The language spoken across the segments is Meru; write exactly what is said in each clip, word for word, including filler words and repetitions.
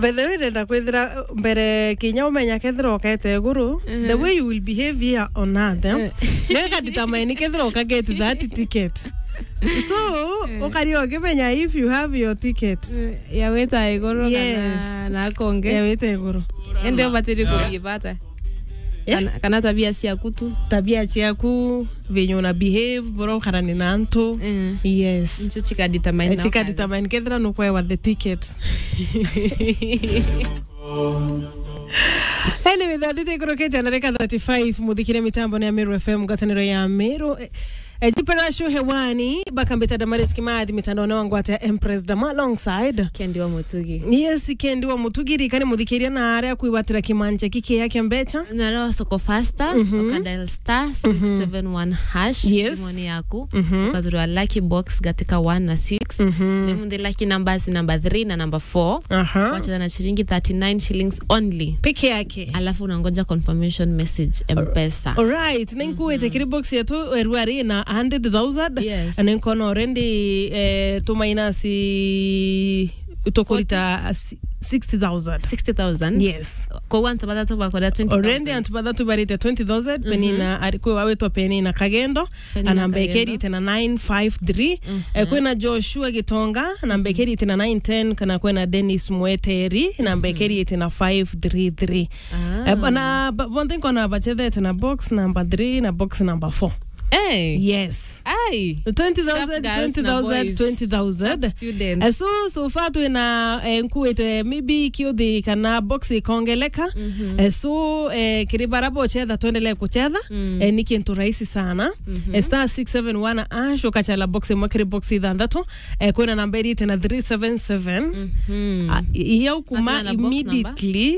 By the way, ndenda kwithira mbere kinya umenya kethira ukete iguru, the way you will behave here on earth, eh? Neka determine kethira uka get that ticket. So, ukari ukimenya if you have your ticket. Eh, ya wita iguru. Yes. Kana na konge. Ya wita iguru. Ende ubatiri kuthii bata. Eh? Kana, kana tabia ciaku tu. Tabia ciaku, venye una behave, bora ukarani na antu. Eh. Yes. Ncio chika determine. Eh, na chika ukari. Determine kethira nukwewa the ticket. Anyway, thathite ikorokeja na reka thirty-five, muthikire mitambo ni ya Meru F M, ngwataniro ya Meru. Eh, eh, Jupiter Show hewani, bakambita Damaris Kimathi, mitandao ni wangwate ya Empress Dama alongside Kendi wa Mutugi. Yes, Kendi wa Mutugi, rikani muthikiria na aria kwigwatira kimanja kikia kia mbecha. Na leo soko faster, mhm, uka dial star six seven one hash, yes, simoni yaku, mhm, ukathurwa lucky box gatika one na six. Mhm. Ni mundi lucky numbers number three na number four. Aha. Wacheza na shilingi thirty-nine shillings only. Peke yake. Alafu unangoja confirmation message M-Pesa. Alright, na nkuwete kiri box yetu, eh, rwari na hundred thousand. Yes. Na nkona already, eh, tumainasi tukurita si-, sixty thousand. Sixty thousand? Yes. Kwa antu bathatu bakora twenty thousand. Already antu bathatu barite twenty thousand, mhm, Penina, ari-, kwi wawitwa Penina Kagendo, Penina anamba Kagendo. Ikerite na nine five three. Mhm. Eh, kwina Joshua Gitonga, anamba ikerite na nine ten, kana kwina Dennis Mweteri, anamba ikerite na five three three. Ah. Eh, bana, ba-, bonthe nkona bachethete na box number three na box number four. Eh. Yes. Ai. Twenty thousand, sharp girls na twenty thousand, boys. Twenty thousand. Sharp students. Eh, so, so far twina, eh, nkuwite maybe kiuthi kana box ikongeleka. Mhm. Eh, so, eh, kiri bara bochetha twendelee kuchetha. Mm. Eh, ni kintu rahisi sana. Mhm. Eh, star six seven one hash, ukachala box imwe kiri box ithanthatu. Eh, kwina namba irite na three seven seven. Mhm. Ah, i-, iya ukuma. Achana na box number. Immediately.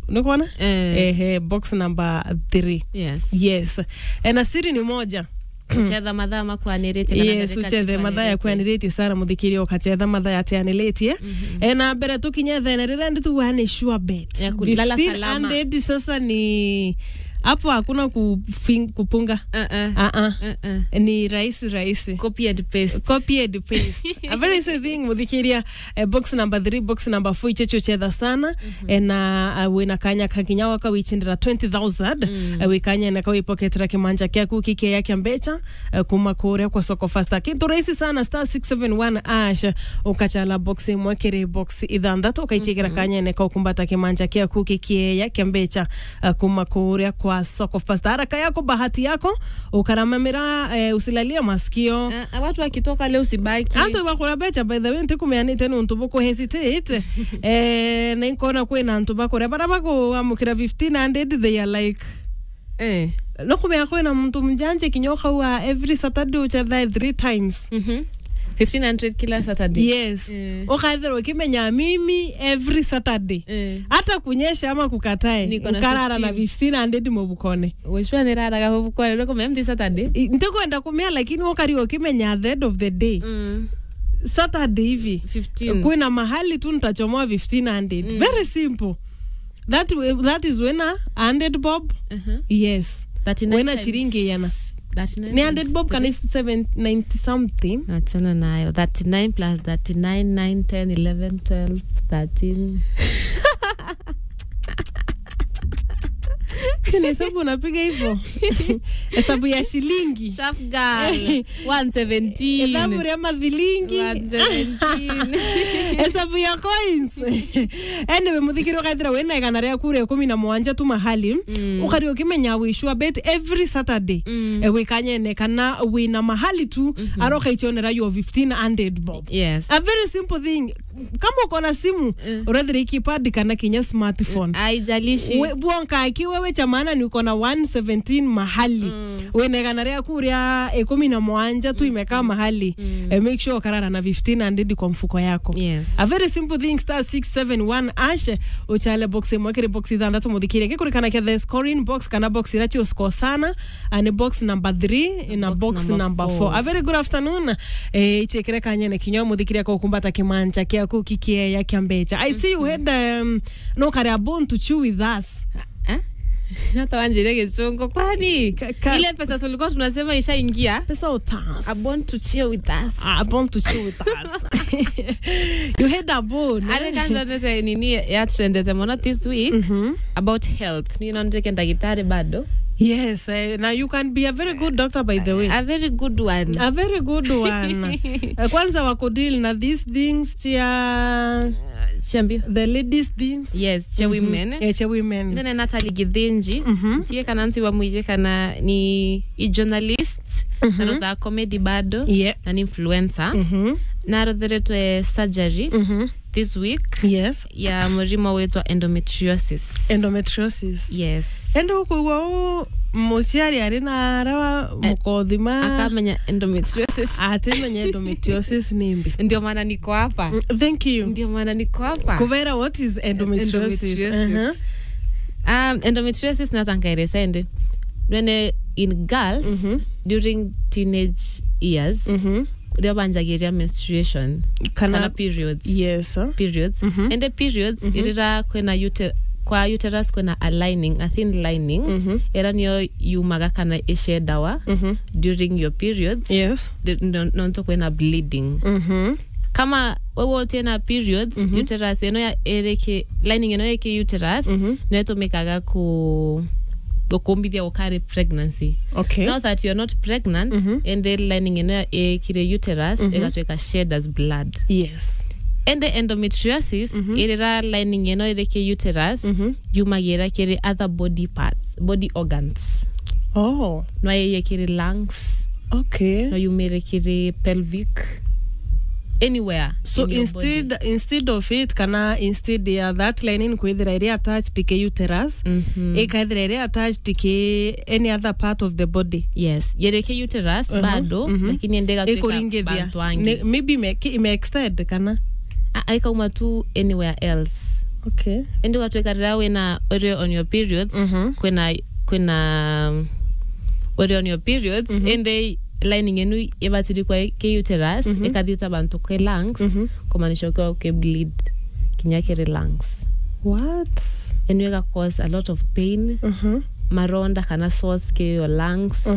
Nukwona? Eh. Ehe, box number three. Yes. Yes. Eh, na siri ni moja. Uchetha mathaa makwanirite kana ndarika chikwanirite. Yes, uchethe mathaa yakwanirite sana, muthikiria, ukachetha mathaa yatianiritie. Mhm. Eh, na mbere tukinye thene, riria ndi tu one sure bet. Ya kulala salama. Fifteen hundred sasa ni hapo, hakuna kufing-, kupunga. Uh-uh. Uh-uh. Uh-uh. Ni rahisi, rahisi. Copy and paste. Copy and paste. A very easy thing, muthikiria. Eh, box number three, box number four, ichecho chetha sana. Mhm. Eh, na, eh, wina kanya ka kinya waka wichindira twenty thousand. Mm. Eh, wikanyene ka wipoketera kimanja kiaku kikeya kia mbecha, eh, kuma kuria kwa soko faster. Kintu rahisi sana, star six seven one hash, ukachala box imwe kiri box ithanthatu, ukaichikira kanyene ka ukumbata kimanja kiaku kikeya kia mbecha, eh, kuma kuria kwa soko faster. Haraka yako, bahati yako, ukaramamira, eh, usilalie masikio. Eh, watu wakitoka leo usibaki. Antu bakura mbecha, by the way, ntikumeanite nuntu buku hesitate. Eh, na inkona kwina antu bakuria bara bakuamukira fifteen hundred, they are like, eh. No kumea kwina muntu mjanje kinya ukaua every Saturday uchetha three times. Mhm. Fifteen hundred kila Saturday. Yes. Eh. Ukathirwa ukimenya mimi every Saturday. Eh. Hata kunyesha ama kukatae, niko na nkarara na fifteen. Fifteen hundred mubukone. Wishwa niraraga mubukone, ndo kumea mti Saturday? I-, ntikwenda kumea, lakini ukari ukimenya at the end of the day. Mm. Saturday hivi. Fifteen. Kwina mahali tu nitachomoa fifteen hundred. Mm. Very simple. That w-, that is wina hundred bob. Uh-huh. Yes. Thirty-nine wina times chiringi yana. Thirty-nine. Ni hundred bob kana seven ninety something. Achana nayo. Thirty-nine plus thirty-nine, nine, ten, eleven, twelve, thirteen. Ni hesabu unapiga hivyo. Hesabu ya shilingi. Sharp girl. One seventeen. Hesabu ya mathilingi. One seventeen. Hesabu ya coins. Anyway, muthikiri, ukaithira wina igana riaku ria ikumi na mugwanja tu mahali, mm, ukari ukimenya wi sure bet every Saturday, mm, eh, wikanyene kana wina mahali tu, mhm, aroka ichonera yo fifteen hundred bob. Yes. A very simple thing. Kama uko na simu, eh, urethire keypad kana kinya smartphone. Haijalishi. We, bwonka aki wewe cha maana ni uko na one seventeen mahali. Mm. Wina igana riaku ria ikumi na mugwanja tu imekaa mahali. Mm. Eh, make sure ukarara na fifteen hundred kwa mfuko yako. Yes. A very simple thing, star six seven one hash, uchale box imwe kiri box ithanthatu, muthikire. Ngikurikana kia the scoring box kana box ira cio score sana, and box number three na box number four. A very good afternoon. Eh, ichekere kanyene kinya muthikire kwa kumbata kimanja kiaku kikieya kia mbecha. I see you had, um, no kare a bone to chew with us. Eh? Hata wanjire Gicungu. Kwani? Ka-, ka- Ile pesa tulikuwa tunasema ishaingia? Pesa utas. A bone to chew with us. A bone to chew with us. You had a bone, eh? Are kando nete nini ya trendete mono this week about health. Ni nondeke ndagitari bado. Yes, eh, now you can be a very good doctor, by the way. A very good one. A very good one. Eh, kwanza wako deal na these things, chia Chambi. The ladies things. Yes, cha women. Eh, cha women. Ndene Natalie Githinji. Tie kana nti wa mwije kana ni i journalist, na rotha comedy bado, Yeah. na ni influencer. Na rotheretwe surgery this week Yes. ya murimo witwa endometriosis. Endometriosis. Yes. Ende ukwigua u muciari ari na arawa mukothima. Akamenya endometriosis. Atimenya endometriosis ni mbi. Ndio maana niko hapa. Mm, thank you. Ndio maana niko hapa. Kubera, what is endometriosis? Endometriosis. Uh-huh. Um, endometriosis natangaire sende. When, eh, in girls, during teenage years, rio banjagiria menstruation. Kana periods. Yes, sir. Periods. Ende periods, irira kwina ute-, kwa uterus kwina a lining, a thin lining, ira nio yumaga kana ishedawa during your periods. Yes. Di-, no-, nontu kwina bleeding. Kama wewe utina periods, uterus ino ya iriki, lining ino iki uterus, no itumikaga ku-, gukumbithia gukari pregnancy. Okay. Now that you're not pregnant, ende lining ino ya ikire uterus, igatwika shed as blood. Yes. Ende endometriosis, irira lining ino iriki uterus, yumagira kiri other body parts, body organs. Oh. No iye kiri lungs. Okay. No yumire kiri pelvic. Anywhere. So in your body. Instead, instead of it, kana instead ya that lining kwithira iri attached ki uterus, ikaithira iri attached ki any other part of the body. Yes. Yiri ki uterus bado, lakini ende igatwika bantu angi. Maybe ime, ki-, ime extend kana? A-, aikauma tu anywhere else. Okay. Ende ugatwika rira wina, uri on your periods, kwina, kwina, um, uri on your periods, ende lining enu ibatiri kwa ki uterus, ikathita bantu ki lungs, kumaanisha ukiwa uki bleed kinya kiri lungs. What? Enu ika cause a lot of pain, maronda kana sores ki your lungs,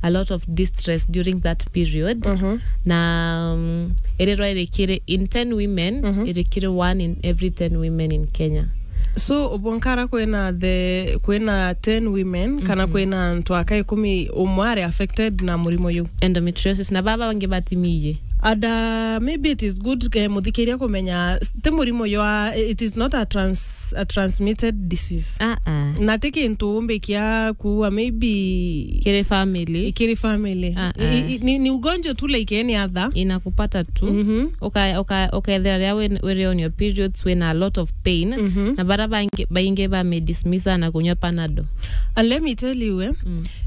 a lot of distress during that period. Na, um, irirwa irikire in ten women, irikire one in every ten women in Kenya. So, ubunkara kwina the, kwina ten women, kana kwina antu aka ikumi umwe ari affected na murimo yu? Endometriosis, na baba bangi batimiye. And, uh, maybe it is good, eh, muthikiria kumenya, ti murimo ywa, it is not a trans-, a transmitted disease. Ah, ah. Na ti kintu umbikia kuua, maybe kiri family. Kiri family. Ah, ah. I, i, ni, ni ugonjwa tu like any other. Inakupata tu. Uka-, uka-, ukethira ria wi-, wiri on your periods, wina a lot of pain. Na bara bangi, baingi bamedismissa na kunywa Panadol. And let me tell you, eh,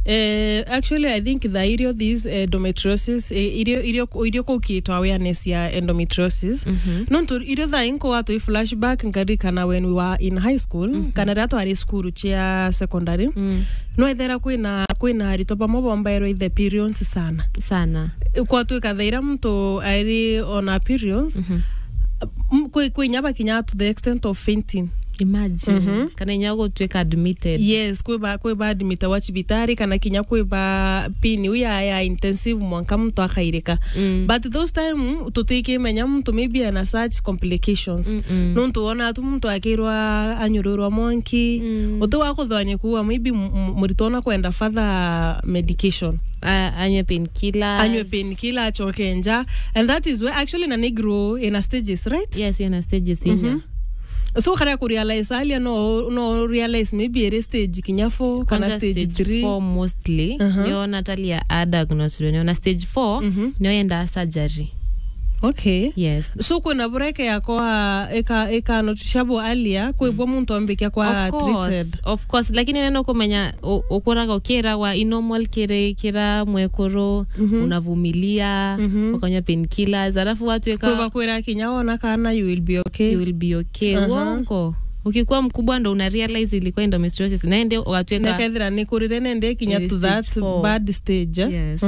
eh, actually, I think the irio these, eh, endometriosis, eh, irio, irio, irio kukitwa awareness ya endometriosis. Nontu irio thaa inko watwi flashback nkarikana when we were in high school, kana riria twari cukuru cia secondary, no ethera kwina, kwina aritwa bamwe bombairwe ithe periods sana. Sana. Kwatwika thaira muntu airi on a periods, m-, kwi, kwi inya bakinya to the extent of fainting. Imagine. Kana inya gutwika admitted. Yes, kwi ba, kwi ba admitawa cibitari, kana kinya kwi ba pin iu ya, ya intensive mwanka muntu akairika. But those time, tutikimenya muntu maybe ana such complications. Nontu wona tu muntu akirwa anyururwa mwanki, uti wa kuthwanya kuuga maybe m-, m-, muritwa ona kwenda further medication. A-, anywe painkillers. Anywe painkiller, acoke nja. And that is where actually na ni grow in a stages, right? Yes, in a stages inya. So, kara ku realize alia no, no realize maybe ere stage kinya four, kana stage three. Four mostly. Nio Natalia a diagnosed, nio na stage four, nio yenda surgery. Okay. Yes. So, kwina bureke yakwa ika, ika noticeable earlier, kwibwa muntu ambikia kwa treated. Of course, lakini neno kumenya u-, ukuraga ukiragwa i normal kiri kira mwekuru, unavumilia, ukanywa painkillers, alafu watu ika kwiba kwira kinya wona kana you will be okay. You will be okay. Uongo. Ukikuwa mkubwa ndo una realize ilikuwa endometriosis. Na ende ugatwika nekethira ni kurire nende kinya to that bad stage. Yes.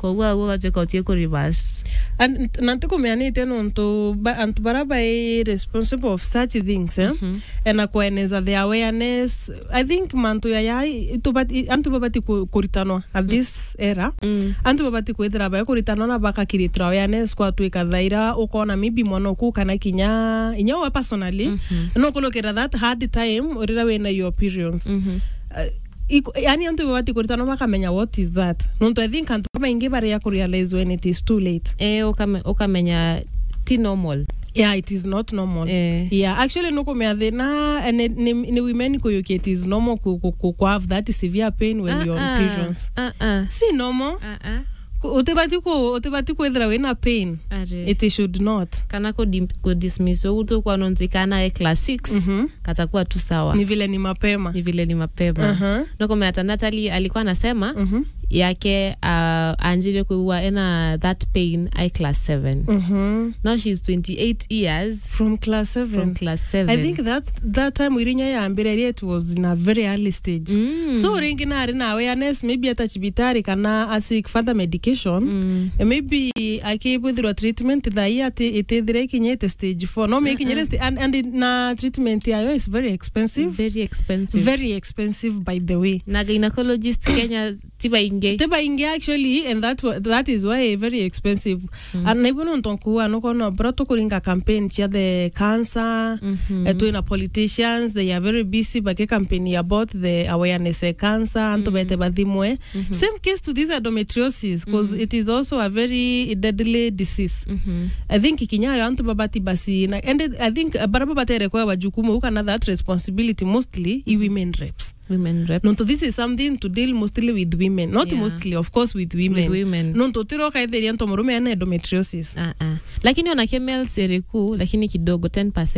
Koguo aguo gatuika utie ku reverse. And, na ntikumea nitia nontu ba-, antu bara bai responsible of such things, eh? Mhm. Ena kueneza the awareness. I think mantu yaya i-, itubati-, i-, antu babati ku-, kuritanwa at this era. Mm. Antu babati kwithira bai kuritanwa na bakakirithira awareness kwatuika thaira ukona maybe mwana uku kana kinya inya we personally. Mhm. No kulukira that hard time urira wina your periods. Mhm. Uh, Iko-, yani antu babati kuritana bakamenya what is that. Nontu I think antu babaingi baria ku realize when it is too late. Eh, ukame-, ukamenya ti normal. Yeah, it is not normal. Eh. Yeah, actually nukumea thina, eh, ni, ni, ni women kuyukia it is normal ku, ku, ku, ku have that severe pain when you're on periods. Ah, ah. Si normal. Ah, ah. Ku-, utibati ku-, utibati kwithira wina pain. Ari. It should not. Kana ku dim-, ku dismiss ugu tu kwa nontu ikana e class six. Mhm. Katakuwa tu sawa. Ni vile ni mapema. Ni vile ni mapema. Aha. Nukumea ata Natalie alikuwa anasema, mhm, yake, uh, anjire kuigua ena that pain ai class seven. Mhm. Now she's twenty-eight years. From class seven. From class seven. I think that, that time wirinya yambire, it was in a very early stage. Mm. So ringi nari na awareness, maybe ata cibitari kana a seek further medication. Mm. Eh, maybe akibwithirwa treatment thaa ii ati itithire ikinyite stage four. No, mekinyire, mm-mm, sta-, and, and na treatment yayo is very expensive. Very expensive. Very expensive, by the way. Na gynecologist Kenya ti baingi. Ti baingi, actually, and that wa-, that is why very expensive. Mm. And na ibu nontu nkuuga, nukona bro tukuringa campaign cia the cancer, mhm, eh, twina politicians, they are very busy baki campaign about the awareness ya cancer, antu, mm, bete bathimwe. Mhm. Same case to this endometriosis, 'cause, mhm, it is also a very deadly disease. Mhm. I think kinya yo antu babati basi na, and I think, uh, bara babatere kwa wajukumu kana that responsibility mostly i, mhm, women reps. Women reps. Nontu this is something to deal mostly with women. Not, yeah, mostly, of course, with women. With women. Nontu utiro kaithiria ntu murume ena endometriosis. Ah, ah. Lakini ona ke males iri ku, lakini kidogo, ten percent.